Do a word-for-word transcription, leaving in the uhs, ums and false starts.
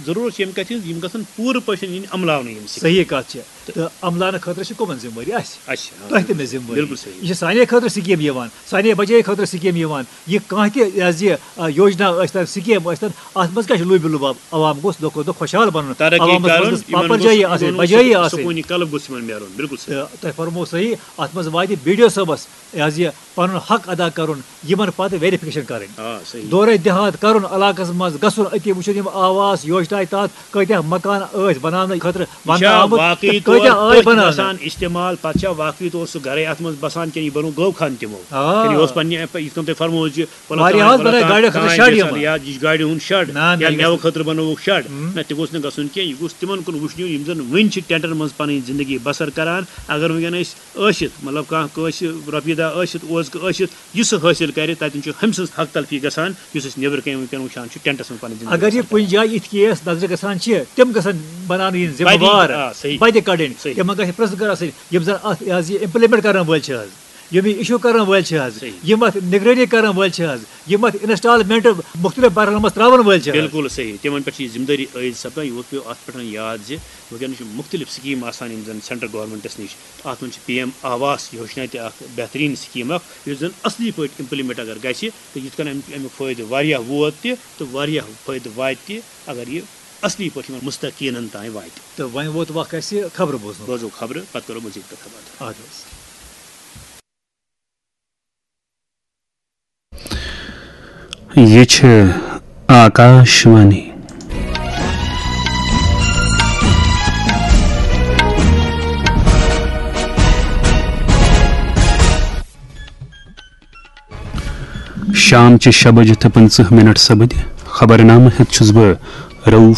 ضروٗرت چھِ ییٚمہِ کَتھِ ہٕنٛز، یِم گژھن پوٗرٕ پٲٹھۍ یِنۍ عملاونہٕ یِم سِکیٖم۔ صحیح کَتھ چھِ۔ تہٕ عملاونہٕ خٲطرٕ چھِ کٕمَن ذِمہٕ وٲری؟ اَسہِ۔ اَسہِ، آ، تۄہہِ تہِ مےٚ ذِمہٕ وٲری۔ بِلکُل صحیح۔ یہِ چھِ سانے خٲطرٕ سِکیٖم یِوان، سانے بَجایہِ خٲطرٕ سِکیٖم یِوان۔ یہِ کانٛہہ تہِ، یہِ حظ یہِ، آ، یوجنا ٲسۍ تَن، سِکیٖم ٲسۍ تَن، اَتھ منٛز کیٛاہ چھُ لوٗبہِ لوٗباب؟ عوام گوٚژھ دۄہ کھۄتہٕ دۄہ خۄشحال بَنُن۔ ترقی عوامَس منٛز کَرُن، گٔژھ یِمَن پاپَر گوٚژھ، جٲیی یِمَن آسٕنۍ، گوٚژھ بَجٲیی سکوٗن، آسٕنۍ۔ سکوٗنی قلب گوٚژھ یِمَن میلُن۔ بِلکُل صحیح۔ تہٕ تۄہہِ فرموو صحیح، اَتھ منٛز واتہِ بی ڈی او صٲبَس یہِ حظ یہِ پَنُن حق ادا کَرُن، یِمَن پَتہٕ ویریفِکیشن کَرٕنۍ۔ آ، صحیح۔ دورے دِہات کَرُن، علاقَس منٛز گژھُن، أتی وٕچھُن یِم آواس یوجنا تحت کۭتیٛاہ مکان ٲسۍ بَناونہٕ خٲطرٕ یہِ وَننہٕ چھا آمُت واقعی تہٕ کۭتیٛاہ طور آے تٔتھۍ بَناونہٕ۔ گژھان استعمال؟ پَتہٕ چھا واقعی طور سُہ گَرَے اَتھ منٛز بَسان کِنہٕ یہِ بَنوو گٲو خان تِمو؟ آ۔ کِنہٕ یہِ اوس پنٛنہِ، یِتھ کٔنۍ تۄہہِ فرموو زِ پلو واریاہ تام، حظ پلو بَنٲے تام، گاڑٮ۪ن خٲطرٕ تام شَڈ گژھان، یِمَن۔ یا یہِ چھِ گاڑِ ہُنٛد شَڈ، نہ، نہ، یا یہِ مٮ۪وٕ گژھِ خٲطرٕ بَنووُکھ شَڈ۔ ہُم۔ نہ، تہِ گوٚژھ نہٕ گژھُن کینٛہہ، یہِ گوٚژھ تِمَن کُن وٕچھنہِ یِم زَن وٕنہِ چھِ ٹٮ۪نٹَن منٛز پَنٕنۍ زِندگی بَسَر کَران۔ اگر وٕنکٮ۪ن أسۍ ٲسِتھ، مطلب، کانٛہہ کٲنٛسہِ رۄپیہِ دَہ ٲسِتھ، اوزکہٕ ٲسِتھ، یُس سُہ حٲصِل کَرِ، تَتٮ۪ن چھُ ہُمۍ سٕنٛز حق تلفی گژھان، یُس أسۍ نیٚبرٕ کَنۍ وٕنکٮ۪ن وٕچھان چھِ، ٹٮ۪نٹَس منٛز پَنٕنۍ زِندگی اگر یہِ بَسَر کُنہِ جایہِ یِتھ کیس نظرِ گژھان چھِ، تِم گژھن بَناونہٕ یِنۍ ذِمہٕ بَدِ، وار، آ، صحیح۔ بَدِ کَڑٕنۍ۔ صحیح۔ تِمَن گژھِ پرٛژھ گٲر آسٕنۍ، یِم زَن اَتھ، یہِ حظ یہِ implement کَرَن وٲلۍ چھِ حظ، یِم یہِ issue کَرَن وٲلۍ چھِ حظ، صحیح۔ یِم اَتھ نگرٲنی کَرَن وٲلۍ چھِ حظ، یِم اَتھ installment مُختلف مرحلَن منٛز ترٛاوَن وٲلۍ چھِ حظ۔ بِلکُل صحیح۔ تِمَن پٮ۪ٹھ چھِ یہِ ذِمہٕ دٲری عٲیِد سَپدان۔ یہِ ووت پیوٚو اَتھ پٮ۪ٹھ یاد زِ وٕنکٮ۪ن چھِ مُختلف سِکیٖم آسان، یِم زَن سٮ۪نٹرٛل گورنمنٹَس نِش۔ اَتھ منٛز چھِ پی ایم آواس یوجنا تہِ اَکھ بہتریٖن سِکیٖم اَکھ، یُس زَن اَصلی پٲٹھۍ implement اگر گژھِ، تہٕ یِتھ کٔنۍ اَمیُک، اَمیُک فٲیدٕ واریاہ ووت تہِ تہٕ واریاہ فٲیدٕ واتہِ تہِ، اگر یہِ اَصلی پٲٹھۍ یِمَن مُستحقیٖنَن تام واتہِ۔ تہٕ وۄنۍ ووت وق اَسہِ خبرٕ بوزنُک۔ بوزو خبرٕ، پَتہٕ کَرو مٔزیٖد کَتھ باتھ۔ اَدٕ حظ۔ یہِ چھِ آکاش وانی۔ شام چہِ شےٚ بجہِ تہٕ پٕنٛژٕہ مِنٹ سپٕدۍ۔ خبرنامہٕ ہٮ۪تھ چھُس بہٕ رؤف